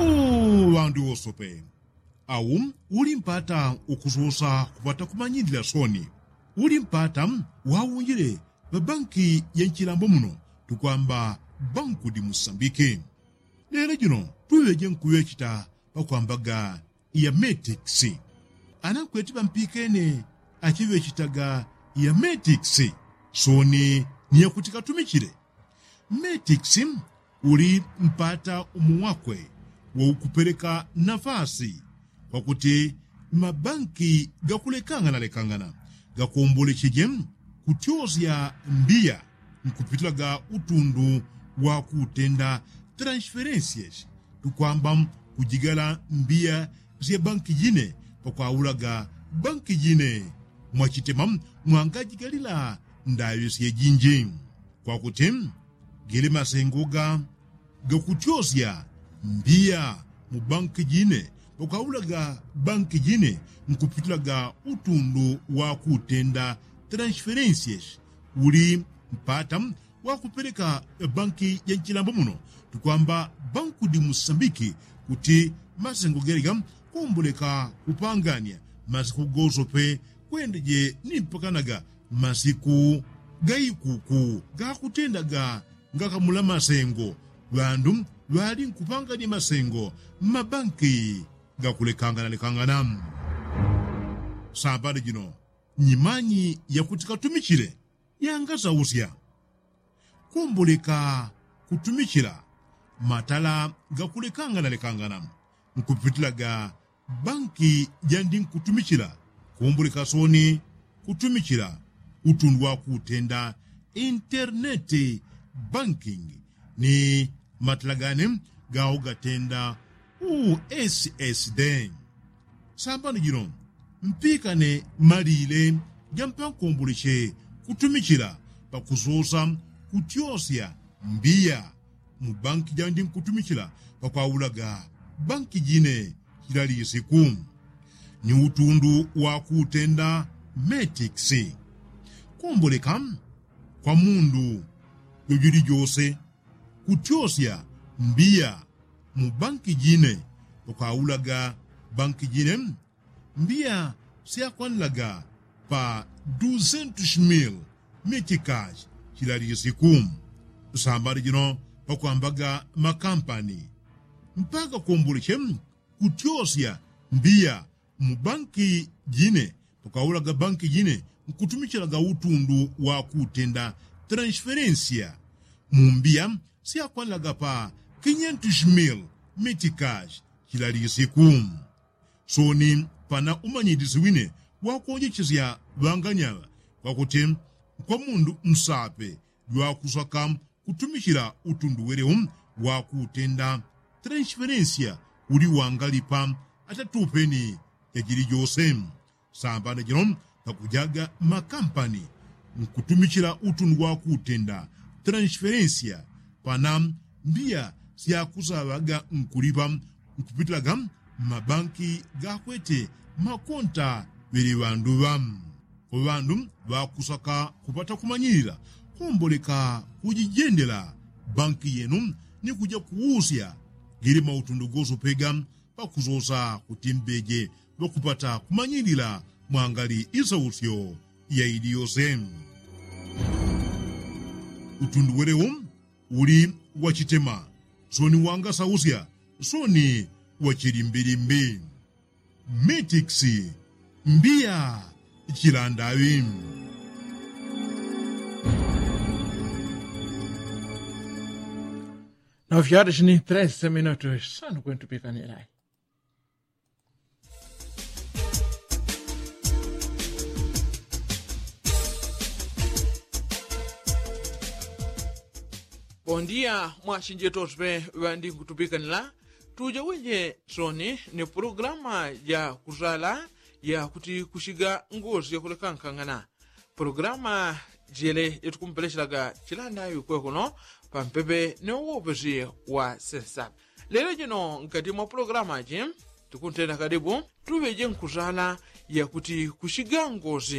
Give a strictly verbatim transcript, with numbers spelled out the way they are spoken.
Ŵandu wosope au uli mpata ukusosa kupata kumanyilila soni uli mpata waunjile ŵa banki ya nchilambo muno tukwamba banku di musambiki. Lelo jino tuŵeje nkuŵechita pakwambaga ya metix. Ana nkweti ŵampikene achiŵechitaga ya metix soni ni yakuti katumichile. Metix uli mpata umu wakwe waukupeleka nafasi kwakuti mabanki gakulekangana lekangana gakombolecheje kutyosya mbiya nkupitilaga utundu wa kutenda transferensias tukwamba kujigala mbiya sya banki jine pakwaulaga banki jine mwachitema mwangajigalila ndaŵe syejinji kwakuti gele masengo ga gakutyosya mbiya mu banki jine pakwaulaga banki jine nkupitilaga utundu wa kutenda transferensias uli mpata wakupeleka banki ya nchilambo muno tukwamba banku di musambiki kuti masengo gelega komboleka kupangania masiku gosope kwendeje ni mpakanaga masiku gaikuku gakutendaga ngakamula masengo ŵandu ŵali nkupangania masengo mmabanki gakulekanganalekangana. Sambani jino nyimanyi yakuti katumichile yangasausya komboleka kutumichila matala gakulekanganalekangana nkupitilaga banki jandi nkutumichila komboleka soni kutumichila utundu wa kutenda interneti banking ni matala gane gao gatenda ussd. Sambani jino mpikane malile jampankomboleche kutumichila pakusosa kutyosya mbiya mu banki jandi nkutumichila pakwaulaga banki jine chila lisiku ni utundu wa kutenda metix. Komboleka kwa mundu jojuli jose kutyosya mbiya mu banki jine pakwaulaga banki jine mbiya syakwanilaga pa duzentus mil mitikash chila lisiku. Sambani jino pakwambaga makampani mpaka komboleche kutyosya mbiya mu banki jine pakwaulaga banki jine nkutumichilaga utundu wa kutenda transferensiya mu mbiya syakwanilaga pa kinyentus mil mitikash chila lisiku. Soni pana umanyilisi wine wakuonjechesya ŵanganyaŵa kwakuti kwa mundu nsape jwakusaka kutumichila utundu welewo wakutenda transferensiya uli wangalipa atatupeni jajili jose. Sambana jino pakujaga makampani nkutumichila utundu wakutenda transferensiya pana mbiya syakusaŵaga nkulipa nkupitilaga mmabanki gakwete makonta ŵele ŵanduŵa. Kwa ŵandu ŵakusaka kupata kumanyilila komboleka kujijendela banki yenu ni kuja kuusya gele mautundu gosopega pakusosa kuti mbeje ŵakupata kumanyilila mwangali isausyo ya ili yose. Utundu welewo uli wachitema soni wangasausya soni wachilimbilimbi. Mitix mbiya chilandaŵi. Nove horas ni treze minutos sano kwentupikanilai. Bondia mwachinjetosi pe ŵandi nkutupikanila. Tuja wenje soni ni pulogulama ja kusala ya kuti kusiga ngosi yakulekankangana. Pulogulama jele jatukumpelechelaga chilanda yukwekuno pampepe ni uwopesi wa sensa. Lelo jino nkati mwa pulogulama ji tikuntenda kadibu tuŵeje nkusala ya kuti kusiga ngosi.